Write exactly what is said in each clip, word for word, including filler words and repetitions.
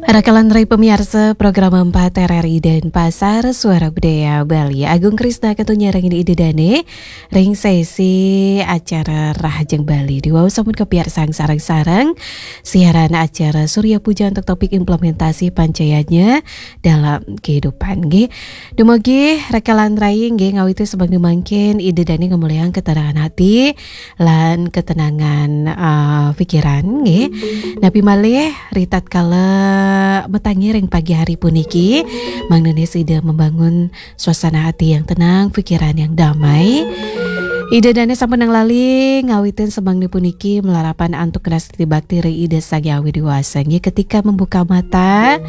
Rakalan rai pamiarsa program empat R R I Denpasar, Suara Budaya Bali. Agung Krisna kantun nyarengin Ida Dane ring sesi acara Rahajeng Bali. Diwau sampun kapiarsang sareng-sareng siaran acara Surya Puja untuk topik implementasi pancayanya dalam kehidupan, nggih. Dumugi rakalan rai nggih ngawiti semeng mangkin Ida Dane ngamulihang ketenangan hati lan ketenangan, eh, pikiran, nggih. Napi malih, ritatkala matangi ring pagi hari puniki, mangdane sida membangun suasana hati yang tenang, pikiran yang damai. Ida Dane sampun nang lali ngawitin semengnya puniki malarapan antuk nastiti bakti ring Ida Sang Hyang Widi Wasa. Nggih, ketika membuka mata,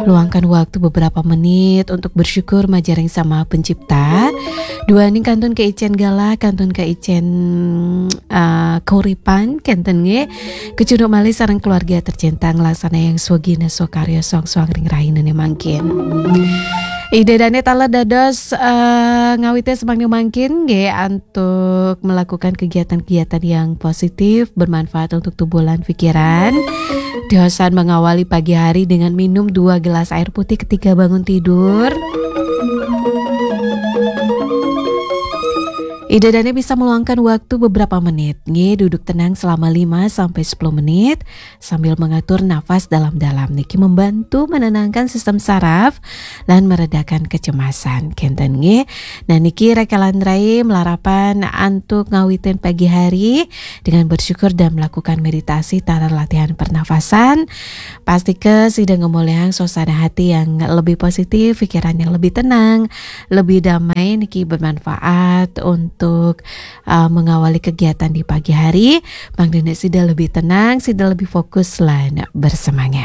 luangkan waktu beberapa menit untuk bersyukur majaring Sang Maha Pencipta. Duaning kantun kaicen galah, kantun kaicen, eh, kauripan, kenten nggih. Kecunduk malih sareng keluarga tercinta nglaksana yang swagina swakarya soang-soang ring rahinane mangkin. Ida Dane taler dados, eh, ngawite semengnya mangkin nggih antuk melakukan kegiatan-kegiatan yang positif, bermanfaat untuk tubuh lan pikiran. Diosan mengawali pagi hari dengan minum dua gelas air putih ketika bangun tidur. Ida Dane bisa meluangkan waktu beberapa menit, nggih, duduk tenang selama lima sampai sepuluh menit sambil mengatur nafas dalam-dalam. Niki membantu menenangkan sistem saraf lan meredakan kecemasan. Kenten, nggih. Nah, niki rakalan rai malarapan antuk ngawitin pagi hari dengan bersyukur dan melakukan meditasi taler latihan pernafasan. Pastika sida ngamolihang suasana hati yang lebih positif, pikiran yang lebih tenang, lebih damai, niki bermanfaat untuk, uh, mengawali kegiatan di pagi hari. Mangdane sida lebih tenang, sida lebih fokus lan bersemangat.